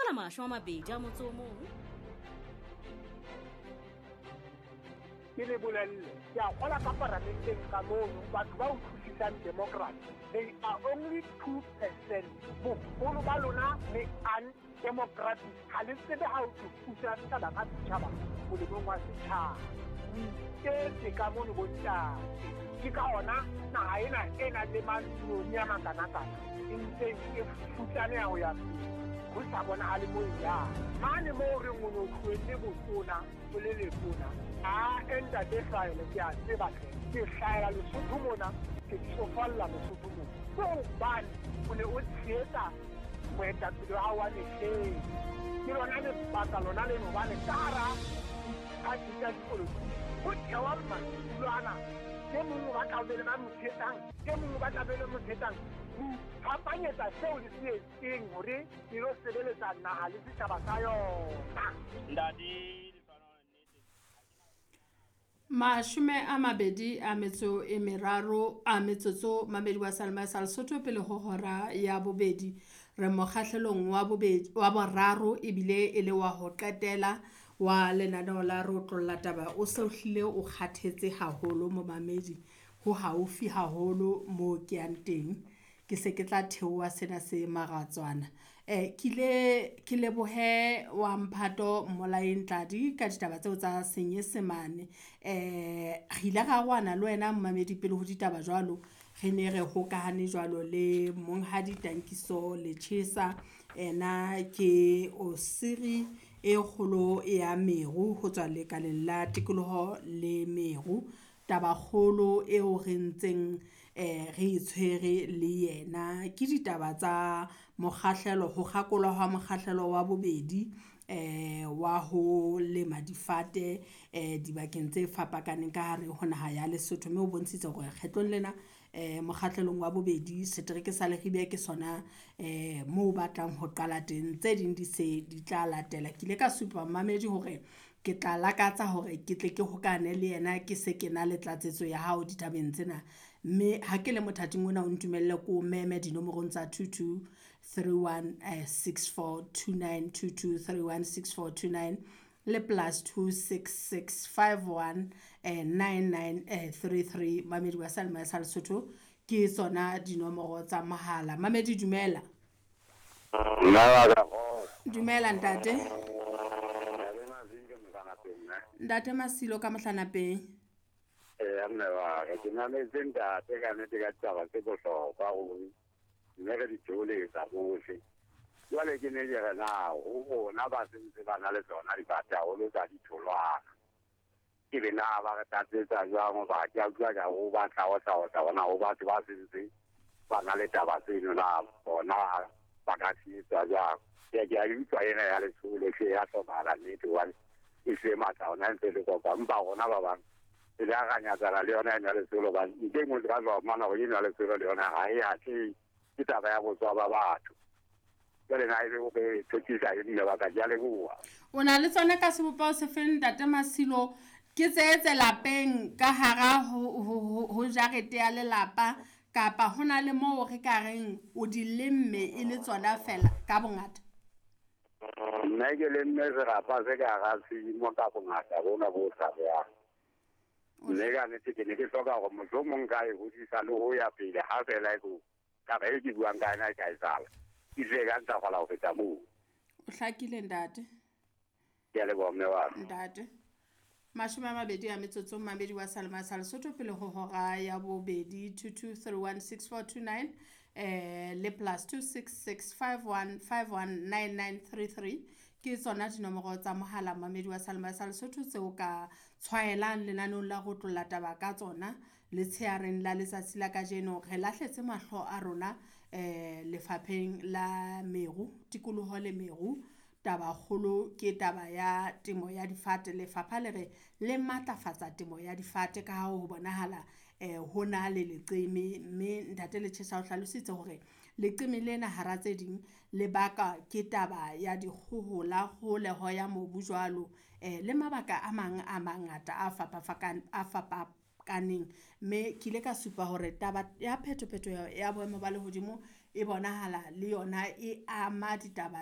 Ka la 21. Ke le bolelle, ke a kgola ka paramenteng ka mono batho ba utlwisisang democracy, they are only 2%. Boholo ba lona le undemocratic, ha le tsebe ha o thusa setjhaba ka setjhaba molemong wa setjhaba. O iketse ka mono bontate, ke ka ona naha ena e nang le matlong a makanakana e ntseng e futsaneha ho ya pele, ho sa bonahale mo e yang. Mane moo re o no tlohelle botona o le letona, a ntate Hlwaele ke a tseba hle, ke hlahela Lesotho mona, ke tsofalla Lesotho mona. Ke hobane o ne o tshehetsa moetapele wa hao wa mehleng. Ke lona lebaka lona leno hobane ka hara diphathi tsa dipolotiki ho thewa matulo ana, e mong o batla ho be le ba mo tshehetsang, e mong o batla be le mo tshehetsang. Ho iphapanyetsa seo le se etseng hore le lo sebeletsa naha le setjhaba sa yona. Ntate 23 a metsotso mamedi wa Salma sa Lesotho pele ho hora ya bobedi. Re mokgahlelong wa bobedi wa boraro ebile e le wa ho qetela wa lenaneo la Re Otlolla Taba. O se o hlile o kgathetse haholo momamedi, ho haufi haholo mo ke yang teng. Ke se ke tla theoha sena se maratswana. Ke ile ke lebohe wa Mphato Mmolaeng Tladi ka ditaba tseo tsa Senyesemane. Re ile ra arohana le wena momamedi pele ho ditaba jwalo. Re ne re hokahane jwalo le Monghadi Tankiso Letjhesa. Ena ke Osiri e kgolo ya meru ho tswa lekaleng la tikoloho le meru. Tabakgolo eo re ntseng re e tshwere le yena ke ditaba tsa mokgahlelo, ho kgakolwa hwa mokgahlelo wa bobedi wa ho lema difate dibakeng tse fapakaneng ka hare ho naha ya Lesotho. Mme o bontshitse hore kgetlong lena mokgahlelong wa bobedi setereke sa Leribe ke sona moo batlang ho qala teng, tse ding di se di tla latela. Ke ile ka supa mamedi hore ke tla lakatsa hore ke tle ke hokane le yena, ke se ke na le tlatsetso ya hao ditabeng tsena. Mme ha ke le mothating ona o ntumelle ko meme dinomorong tsa 22 31 64 29, 22 31 64 29 le plus 266 51 99 33. Mamedi wa Salma sa Lesotho ke tsona dinomoro tsa mohala. Mamedi dumela. Dumela ntate. Ntate Masilo ka Mohlanapeng. Mme wa ka ke mametse ntate ka nnete ka ditaba tse bohlokwa ruri, mme re di theoletsa bohle. Jwale ke ne ke re na ho rona ba sentse ba na le tsona difate haholo tsa ditholwana, ke be na ba re tlatsetsa jwang? Hoba ke a utlwa ka ho batla ho tla ho tla bona ho batho ba sentse ba na le taba tseno, na bona ba ka tshehetsa jwang? Ke a utlwa ena ya letsholo hle ya hlokahala nnete, hobane e se matla ona ntse le kopa, empa rona ba bang e le a nyatsana le yona ena letsholo, hobane ntle e nngwe ka tla fumana hore ena letsholo le yona ha e atlehe, ke taba ya botswa ba batho. Jwale na ebe o re thotisa e mme ba ka, ke a leboha. O na le tsona ka sebopeho se feng ntate Masilo? Ke tse lapeng ka hara ho jarete ya lelapa, kapa ho na le moo re ka reng o di lemme e le tsona fela ka bongata? Nna ke lemme serapa se ka hara tshimo ka bongata bona bo sa beyang. Mme ka nnete ke ne ke hloka hore mohlomong ka e hodisa le ho ya pele, ha fela e ko taba e ke buang ka yona e ka etsahala, e tle e ka ntlafala ho feta moo. O hlakile ntate. Ke a leboha mme wa ka. Ntate. 20 a metsotso mamedi wa Salma sa Lesotho pele ho hora ya bobedi. 22 31 64 29 le plus 266 51 51 99 33 ke tsona dinomoro tsa mohala mamedi wa Salma sa Lesotho tseo ka tshwaelang lenaneong la Re Otlolla Taba ka tsona letsheareng la letsatsi la kajeno. Re lahletse mahlo a rona lefapheng la meru, tikoloho le meru. Tabakgolo ke taba ya temo ya difate. Lefapha le re le matlafatsa temo ya difate ka ha ho bonahala ho na le leqeme, mme ntate Letjhesa o hlalositse hore leqeme lena hara tse ding le baka ke taba ya dikgohola, kgoholeho ya mobu jwalo, le mabaka a mang a mangata a fapakaneng. Mme ke ile ka supa hore taba ya phetophetoho ya boemo ba lehodimo e bonahala le yona e ama ditaba